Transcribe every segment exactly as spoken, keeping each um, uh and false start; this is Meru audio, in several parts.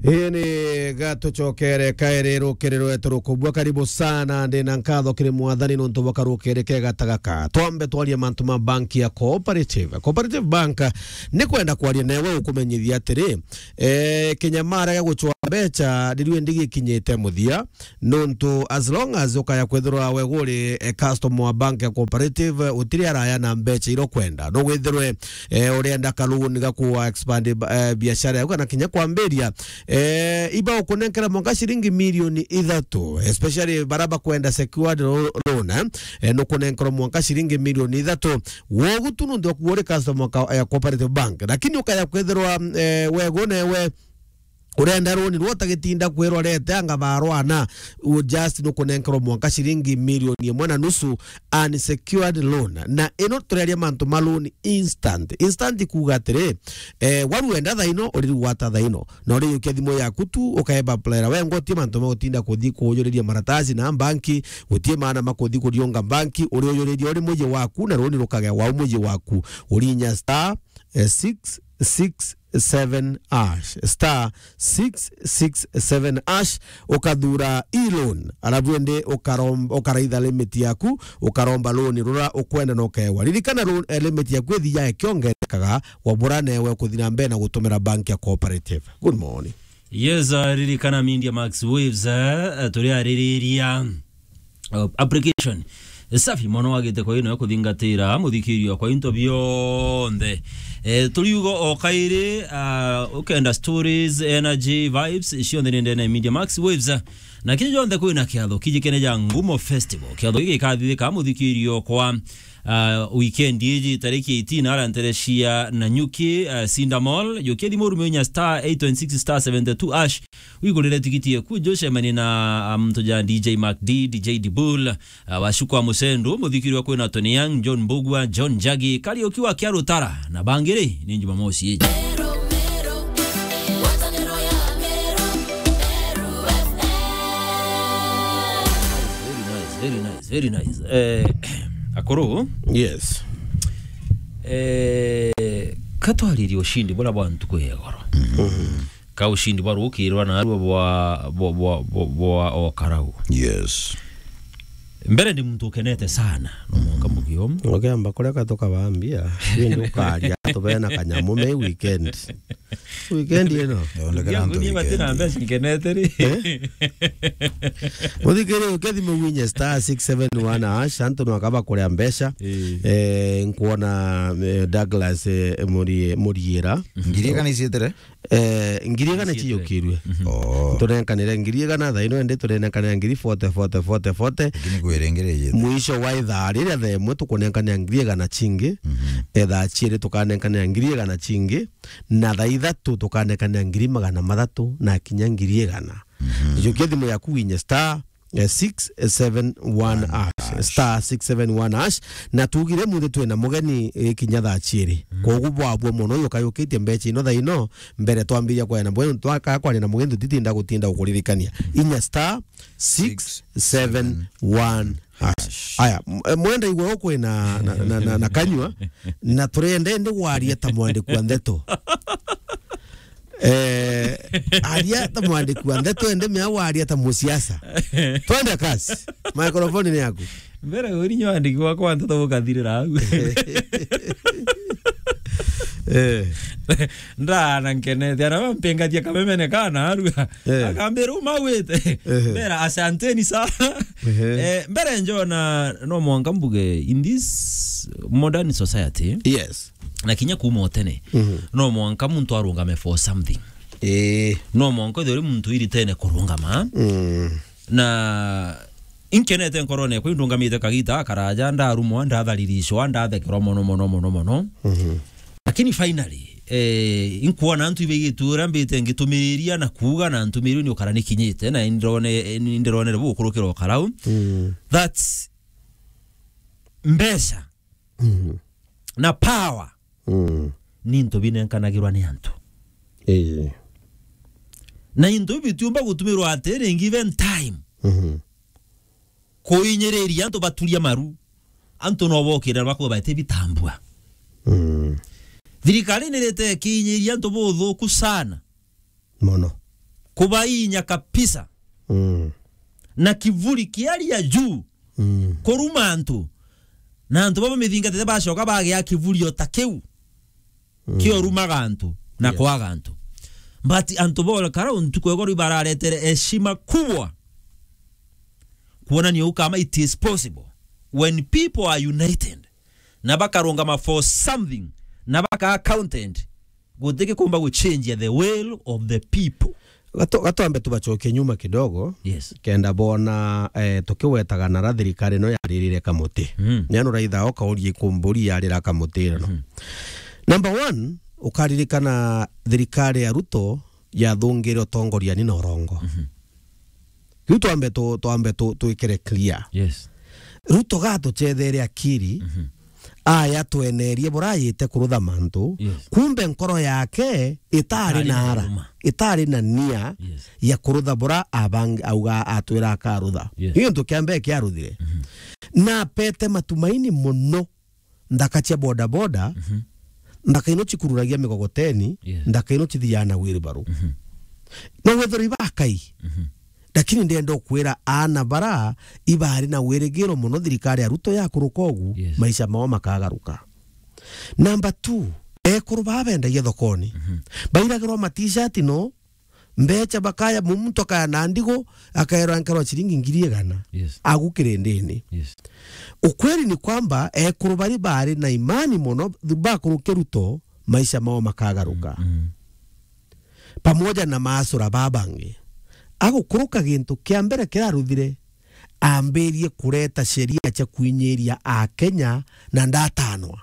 Ii ni gatucokere kairi rukiri rwetu rukubua. Karibu sana, ndi na nkatho kiri Mwathani nontu bwa karukiri kega ta gaka. Twambe twarie mantu ma banki ya Cooperative. Cooperative Bank ni kwenda kwaria newe ukumenyithia atiri, eh, kinyamara gia gucwa mbecha rirue ndi gikinyite muthia, nontu as long as ukaya kwithirwa we guri, eh, customer wa bank ya Cooperative, utiri araya na mbecha iria ukwenda. No withirwe, eh, urenda ka loan ga ku expand, eh, biashara yaku kana kinya kwambiria, eh, iba ukunenkera mwanka ciringi milioni ithatu, especially bara bakwenda secured lo-, loan, eh, eh, nukunenkerwa mwanka ciringi milioni ithatu. Wogu tu nontu waku uri customer ka-, ya Cooperative Bank. Lakini ukaya kwithirwa, eh, wegu newe urenda roni rwo utagitinda kwirwa rete anga barwana, u just nukunenkerwa mwanka ciringi milioni imwe na nusu unsecured loan. Na ino tureria mantu ma loan instant. Instant kuuga atiri, eh, waru wenda thaino, uririgwata thaino. Na urijukia thimu yaku tu, ukaeba player. We ngotie mantu ma gutinda kuthi kuujuriria maratasi na banki, gutie maana ma kuthi kuriunga banki, uriujuriria uri muji waku, na roni rukagea wau muji waku. Urinya star, eh, six six seven hash, star six six seven hash, ukathura e-loan, alafu indi ukarom-, ukaraitha limit yaku, ukaromba loan rura ukwenda na ukewa. Ririkana loan, eh, limit yaku ithiae kiongerekaga, wabura newe kuthi na mbere na gutumira bank ya Cooperative. Good morning. Yes, uh, ririkana Media Max Waves, uh, turi aririria uh, application safi mono wagite kwa ino ya kuthingatira muthikirio kwa into bionthe. Eh, turiugo o kairi, uh, ukenda stories, energy, vibes, cionthe ni ndene Media Max Waves. Na kiji jonthe kwina kiatho kijikene ja Ngumo Festival. Kiatho giki gikathithika muthikirio kwa, uh, weekend iji tariki eighteen ara ntere cia Nanyuki, uh, Cinda Mall. Jukia thimu urume inya star eight one six star seventy two hash. Wigurire tigiti eku, jo cemania na, um, muntu ja D J Mac D, D J Dibul, uh, Washukwa Musendu, muthikiri wa kwina Tony Young, John Mbugua, John Njagi, Kariuki wa Kiarutara, na bangi ri, ni Jumamosi iji. Very nice, very nice, very nice. Eh, akuru? Yes. Eh, katwaririe ushindi bura bwa ntuku ya igoro. Mhm. Ka ushindi bwa rukirwa na arua bwa, bwa, bwa, bwa, bwa o karau. Yes. Mbere ndi muntu ukenete sana, no mwanka mugio. Ukiamba kuria ka tukabambia, indi ukaria, tubena kanyamu me weekend. Weekend ino. Yondekera antu Nginya weekend. Batina mbeca nkenete ri. Eh? Muthikiri, ukethi muwinye star six seven one hash, antu no akaba kuria mbeca. Eh. Eh, nkuona, eh, Douglas, eh, Murie-, Muriera. Ngiri igana icietire? Eh, ngiri igana ciyukirue. Mhm. Oh. Tunenkanire ngiri igana thaa ino, indi tunenkanira ngiri forty, forty, forty, forty. Lakini kwirengere yete. Mwisho wa ithaa riria thaa imwe tukunenkanira ngiri igana cingi, mhm, ithaa ciiri tukanenkanira ngiri igana cingi, na thaa ithatu tukanenkanira ngiri magana mathatu na kinya ngiri igana. Mhm. Jukia thimu yaku winye star eh, six seven one hash, star six seven one hash, na tugire muthi twina mugeni, eh, kinya thaa ciiri. Mm. Kogu bwabua mono, uyu ukayukitie mbeca ino thaa ino, mbere twambiria kwaria na mugeni, twaka kwaria na mugeni, tutitinda gutinda gukuririkania. Inya star six seven one hash. Aya, m-, eh, mwenda igwe ukwina na, na, na, na kanyua, na turenda ndi waria ta mwandiki wa ndeto. Eh, aria ta mwandiki wa ndeto, ende mea waria ta musiasa. Twende kazi. Microphone ni yaku. Mbere uri nyo andiki wakwa ndeto gukathirira au. Eh. Ndana nkenete, ana mpingatia kamemene kana arua. Eh. Akambira, "Umawite." Eh. Mbera, "Asanteni sana." Eh. Eh, mbere njona no mwanka mbuge in this modern society. Yes. Na kinya kuuma o tene, mhm, no mwanka muntu arungame for something. Ii. No mwanka ethirwe uri muntu iritene kurungama. Mm. Na inkenete nkoroone yakwa, indungamite kagita karaja, ndarumwa, ndathariricwa, ndathekerwa mono, mono, mono, mono. Mhm. Lakini finally, eh, inkwona antu ibaigite uria mbite ngitumiriria na kuuga na ntumiririo ni ukara nikinyite, na indirone-, indironere bugukurukira ukarau. Mm. That's mbeca. Mhm. Na power, mm, ni into binenkanagirwa ni antu. Ii. Na into biu bitiumba gutumirwa atiri in given time. Mhm. Kuinyiriria antu baturia maru. Antu no bokire na bakuba bati bitambua. Mm. Thirikari ni rite kiinyiria antu buthuku sana. Mono. Kubainya kabisa. Mm. Na kivuli kia hali ya juu. Mm. Kuruma antu. Na antu baba mithingatite bacoka bagia kivuli o ta kiu. Mm. Kiorumaga antu na, yes, kwaga antu. But antu bora karau ntuku ya igoro ibararetere heshima kubwa. Kuonania ukama it is possible when people are united na bakarungama for something na baka accounted, gutigikumba guchange the will of the people. Gato-, gatwambe tubacokie nyuma kidogo. Yes. Kenda bona, eh, tukiwetaga nara thirikari ino yaririre kamuti. Mm. Ni anu raitha o kaurie kumburi yarira kamuti ino. Mhm. Number one, ukaririkana thirikari ya Ruto yathungire utongoriani na urongo. Mhm. Riu twambe tu-, twambe tu-, twikire clear. Yes. Ruto gatucethere akiri, mhm, aya twenerie burayite kurutha mantu, yes, kumbe nkoro yake itari, itari na na ara, iruma, itari na nia, yes, ya kurutha bura abangi auga atwira akarutha. Yes. Iyo ntu kia mbere kiaruthire. Mhm. Na pete matumaini muno nthaka cia boda boda, mhm, nthaka ino cikururagia migogoteni, yes, nthaka ino cithiaga na wheelbarrow. Mhm. No wethirwa ibakai. Mhm. Lakini ndenda ukwira aana bara ibari na wirigiro muno thirikari ya Ruto yakuruka ugu, yes, maisha mao makagaruka. Number two, ekuru baa bendagia thokoni. Mhm. Bairagirwa ma t-shirt no, mbecha bakaya, mu-, muntu akaya na ndigu, akaerwa nkerwa ciringi ngiri igana. Yes. Agu kirindini. Yes. Ukweli ni kwamba ekuru bari bari na imani muno bakuruke Ruto, maisha mao makagaruka. Mm, mm. Pamoja na maasura babangi. Agukuruka gintu kia mbere kiraruthire, ambirie kureta sheria cia kwinyiria Akenya na ndatanwa.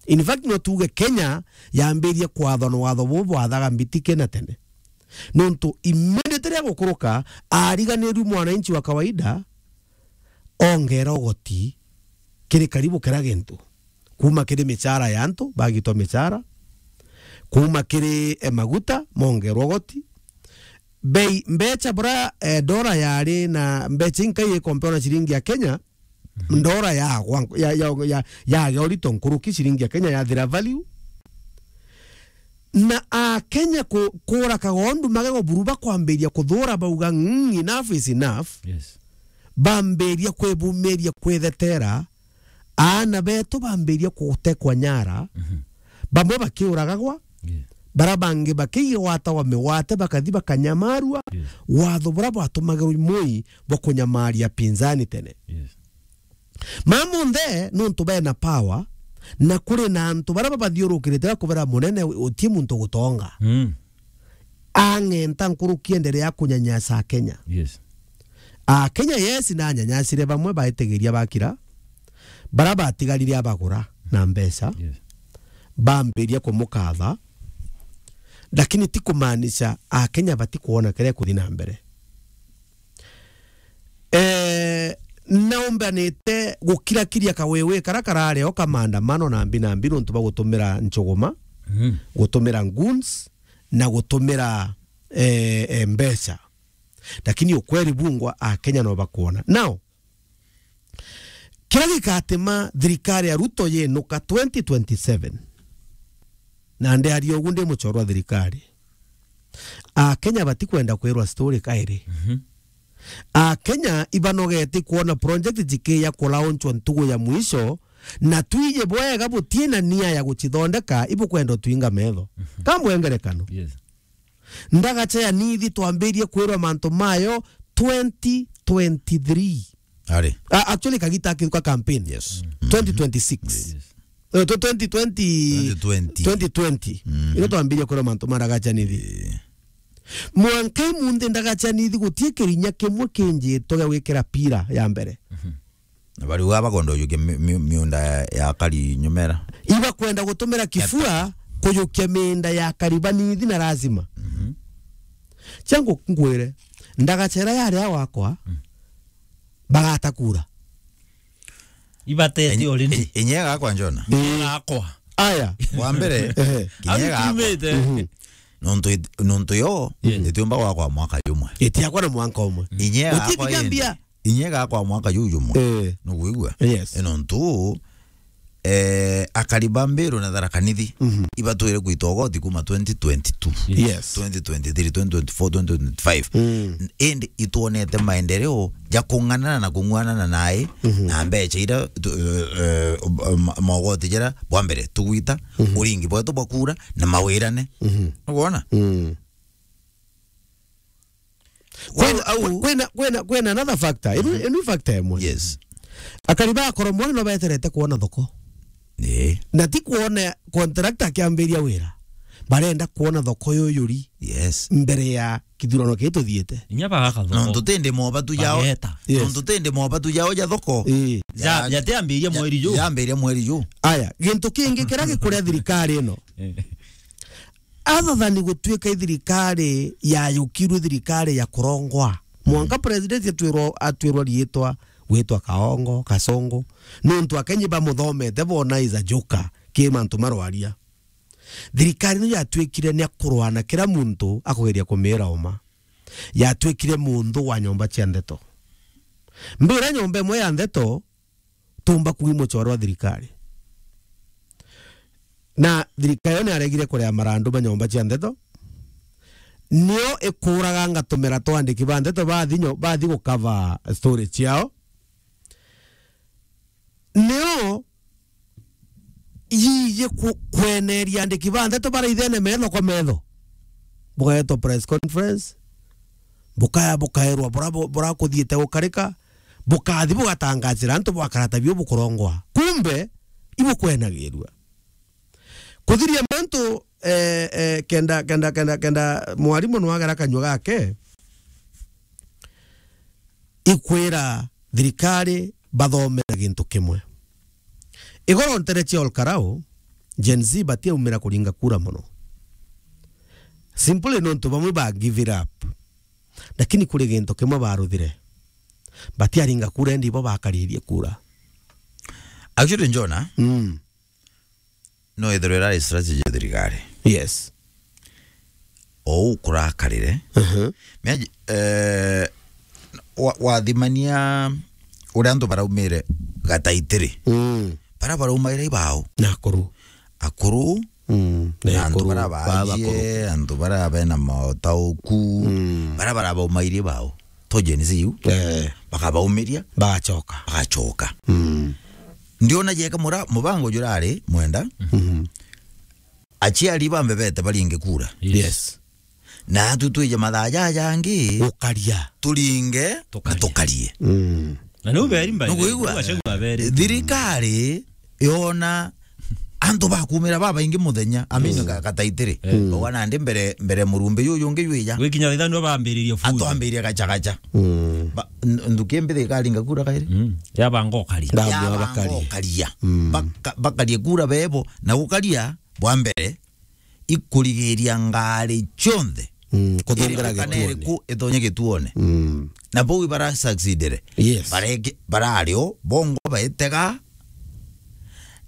In fact, no tuge Kenya yambirie kwathwa na watho bubu bwathaga mbitike na tene. Nontu immediately agukuruka, ariganirue mwananchi wa kawaida, ongera ugoti kiri karibu kira gintu. Kuma kiri michara ya antu, bagitwa michara. Kuma kiri, eh, maguta, mongerwa ugoti. Bei, mbecha bura, eh, dola yari na mbecha inkai ikompea na ciringi ya Kenya, mhm, dola ya, ya, ya, ya, yagea urito nkuruki, ciringi ya Kenya yathira value. Na Akenya ku-, kura kagondu magego buru bakwambiria kuthura bauga, "Mm, enough is enough." Yes. Bambiria kwibumiria kwithetera, aana betu bambiria gutekwa nyara, mhm, bamwe bakiuragagwa, yes, bara bangi bakigwatagwa migwate bakathi bakanyamarua, yes, watho bura bwatumagirwa imui bwa kunyamaria pinzani tene. Yes. Mamonthe nontu bena power, na kuri na antu bara babathiurukirite bakubera munene uti muntu gutonga. Mm. Ang'enta nkuruki enderea kunyanyasa Akenya. Yes. Akenya, yes, nanyanyasire bamwe baitigiria bakira, bara batigarire abagura na mbeca. Yes. Bambiria kumukatha, lakini ti kumaanisha Akenya batikuona kiria kuthi na mbere. Eh, naumbanite gukirakiria kawewe kara karari o ka maandamano na mbi na mbi nontu bwa gutumira njuguma, mm, gutumira goons, na gutumira, eh, eh, mbeca. Lakini ukweli bungwa Akenya no bakuona. Now, kiria gikatuma thirikari ya Ruto yinuka twenty twenty-seven, na ndiaria ugu ndi muchoro wa thirikari, Akenya batikwenda kwirwa story kairi. Mhm. Akenya ibanogete kuona project jikiya kulaunchwa ntugu ya mwisho, na twije bwega butina nia ya gucithondeka, ibukwenda utwinga metho. Mhm. Kamwe ngerekano. Yes. Ndagacha ya Nithi twambirie kwirwa mantu mayo twenty twenty-three. Ari. A-, actually, kagita akiruka campaign. Yes. Mm. Twenty twenty-six. Yes. Eh, to twenty twenty, twenty twenty. Twenty twenty. Mm. Ino twambirie kwirwa mantu ma Ndagacha Nithi. Eh. Mwanka imunthi Ndagacha Nithi gutie kirinya kimwe kinjitwe gia gwikira pira ya mbere. Mhm. Na bari uga bakwenda ujukia mi-, mi-, miunda ya, ya kari nyumera. Ibakwenda gutumira kifua kujukia miunda ya kari banithi na lazima. Mhm. Changu ngwire, Ndagacha ira yari ya wakwa, mm, bagata kura. Ibatete already. Inye gakwa Njona. Ii. Gakwa. Aya. Wa mbere, ehe, kinye gakwa. Abitumite. Mhm. Nontu it-, nontu yo, yes, itiumba gwakwa mwaka jumwe. Itiakwa na mwanka umwe. Inye gakwa indi. Inye gakwa mwaka juju mwe. Eh. Nukwigua? Yes. Ino ntu, eh, akari ba Mbiru na Tharaka Nithi, mhm, ibatwire kwita ugoti kuma twenty twenty-two, yes, twenty twenty-three, twenty twenty-four, twenty twenty-five. Mm. Indi itwonete maendeleo ja kung'anana na kung'uanana nae, mhm, na mbecha ira tu-, eh, eh, ma-, magoti jara bwa mbere tugwita, mhm, uringi bwetu bwa kura na mawirane. Mhm. Nukwona? Mm. Kwina, au, kwina, kwina, kwina another factor. Inu, mhm, inu factor imwe. Yes. Akari ba Koromore no beterete kuona thoko. Eh. Na ti kuona contractor akiambiria wira. Barenda kuona thoko yuyuri. Yes. Mbere ya kithurano kiu tuthiite. Inya bagaka thoko. Nontu tindi mobatu jao. Bageta. Yes. Nontu tindi mobatu jao ja thoko. Eh. Ja, ja, jatiambiria ja, mweri ju. Jambiria mweri ju. Aya, gintu kingi kiria gikuria thirikari ino. Eh. Athathani gutuika i thirikari yayukirwe thirikari ya kurongwa. Mwanka president atwirwa, atwirwa riitwa, gwitwa Kaongo, Kasongo. Nontu akenyi bamuthomete bona is a joker ki mantu marwaria. Thirikari ino yatuikire ni akurwana kira muntu akugeria kumira uma. Yatuikire muntu wa nyomba cia ndeto. Mbira nyomba imwe ya ndeto, tumba kuuma muchoro wa thirikari. Na thirikari yo ni aregire kurea marandu ma nyomba cia ndeto. Nio ikuraga ngatumira twandiki ba ndeto bathi nyo-, bathi gukava story ciao. Nio yiji ku-, kweneria andiki ba ndeto baraithene metho kwa metho. Bugaetwa press conference. Bukaya, bukaerwa bura, bu-, bura kuthiite gukarika. Bukathi bugatangacira antu bwakarata bio bukurongwa. Kumbe, ibukwenagirua. Kuthiria mantu, eh, eh, kenda, kenda, kenda, kenda mwarimu nwagera kanyua gake, ikwira thirikari bathomera gintu kimwe. Igoro ntere cia Olkarau, Gen Z batiaumira kuringa kura mono. Simply nontu bamwe ba give it up. Lakini kuri gintu kimwe baruthire. Batiaringa kura, indi bo bakaririe kura. Actually, Njona, mm, no ithirwe irari strategy ya thirikari. Yes. Ou kurakarire. Mhm. Miaji-, eh, wa-, wathimania uria antu baraumire Gataitiri. Mm. Bara baraumaire ibao. Na akuru. Akuru. Mm. Na antu akuru, bara ba-, baajie, bakuru. Antu bara bena maotauku. Mm. Bara bara baumairie ibao. To Gen Z u. Eh. Bakabaumiria. Bagachoka. Bagachoka. Mm. Ndiona jeka mura-, mubango jurari mwenda. Mhm. Aciari bambe bete baringe kura. Yes. Yes. Na atu twije mathaa jaja jangi. Gukaria. Turinge, tukarie. Na tukarie. Mm. Na niu beri mbae. Nukwigua? Niu Gachagua aberi. Thirikari yona antu bakumira babaingi muthenya, amini, mm, ka-, Gataitiri. Eh. Bauga nandi mbere, mbere murumbi juju ungi jwija. Gwikinya thaa ithano bambiririe fujo. Atwambiririe gachagacha. Mm. Ba-, n-, nthuki mbi thirikari ikaringa kura kairi? Mm. Yabanga ukaria. Yabanga ukaria. Mm. Baka-, bakarie kura bebo, na gukaria bwa mbere, ikurigiria ngari cionthe. Mm, kuthungura iriku kana gituone. Iriku itonye gituone. Mm. Na bau ibara succeedire. Yes. Bareke-, barari o, bongo baitega.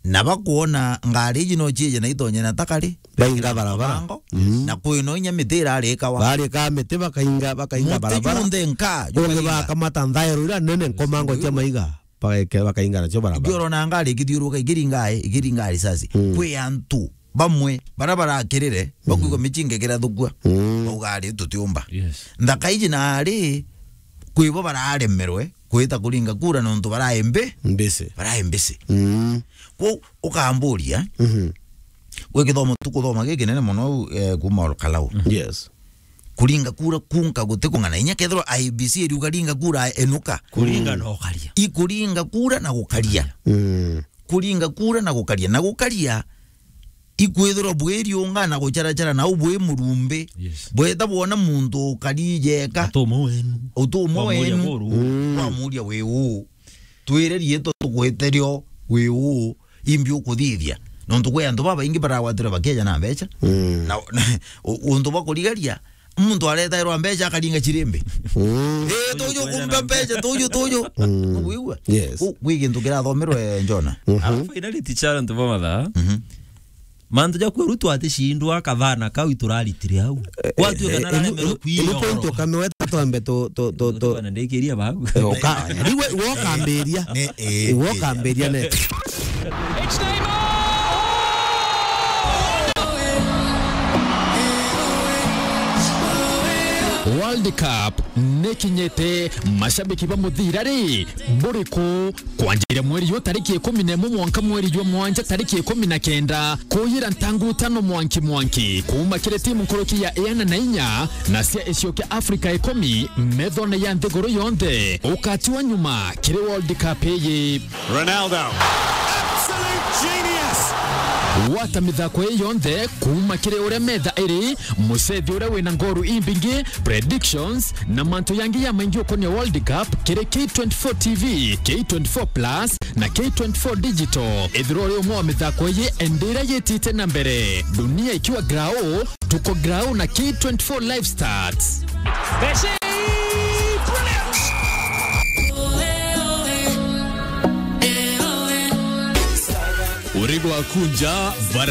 Na bakuona ngari iji no ciije na itonye na takari. Bainga barabara. Bango. Mm. Na kwino inya miti irarikawa. Barika miti bakainga, bakainga barabara. Muti junthe nka, ungi jukainga. Bakamata nthaero ira nene nkomango cia maiga. Bagaike-, bakainga nacio barabara. Ikiorona ngari ikithiuruka, ikiringa, ikiringa risasi. Mm. Kwi antu bamwe bara barakirire, bakwigua, mm, micinga ikirathukua. Mm. Bauga ari tutiumba. Yes. Nthaka iji nari, kwi bo bararemerwe kwita kuringa kura nontu barae mbi-, mbisi. Barae mbisi. Mm. Kwou ukamburia, mhm, gwi kithomo tukuthoma gikinene mono, eh, kuma Olkalau. Yes. Kuringa kura kunka gutikung'ana. Inya kethirwa I E B C iriuga ringa kura, enuka. Kuringa na gukaria. Ikuringa kura na gukaria. Mm. Kuringa kura na gukaria. Na gukaria, ikwithirwa bwiriunga na gucharachara nau bwi murumbi. Yes. Bweta bwona muntu ukari jeka. Utumwe wenu. Utumwe wenu. Wamuria buru. Mm. Wamuria wi uu. Twire riitwa tugwite rio wi uu. Imbi ukuthithia. Nontu kwi antu babaingi baragwatirwe bakeja na mbecha. Mm. Na, na, u-, untu bwa kurigaria, muntu aretairwa mbecha akaringa chirimbi. Mm. Eh, tuju kumba mbecha, tuju, tuju. Mm. Nukwigua? Yes. Ku-, kwi gintu kirathomerwe, Njona. Mhm. Alafu finally, teacher, antu ba mathaa. Mhm. Mantu ja kweru twatishindwa kathana kau ituraritire au. Eh, kwatuika eh, nararemerwe inu-, kwiyogorwa. Inu point ukamiweta twambe tu-, tu-, tu-, tu-, bana ndikiria bau. Eh, uka-, riwe, wokambiria. Ne, eh, wokambiria ne. World Cup nikinyite, mashabiki ba muthira ri, buriku? Kwanjira mweri juu tariki ikumi na imwe mwanka mweri jwa mwanja tariki ikumi na kenda, kuyira ntangu tano mwanki mwanki, kuuma kiri timu nkuruki ya iana na inya na cia icio kia Afrika ikumi methone ya nthiguru yonthe, ukatiwa nyuma kiri World Cup iyi. Ronaldo. Absolute genius. Gwata mithako ii yonthe kuuma kiri uria metha iri, mucethi uria wina ngoru imbingi, predictions, na mantu yangi ya maingi ukonia World Cup kiri K twenty-four T V, K twenty-four Plus, na K twenty-four Digital. Ethirwa uri umwe wa mithako ii, endira yitite na mbere. Dunia ikiwa grao, tuko grao na K twenty-four Live Stats. Messi! Brilliant! Urigo akunja bara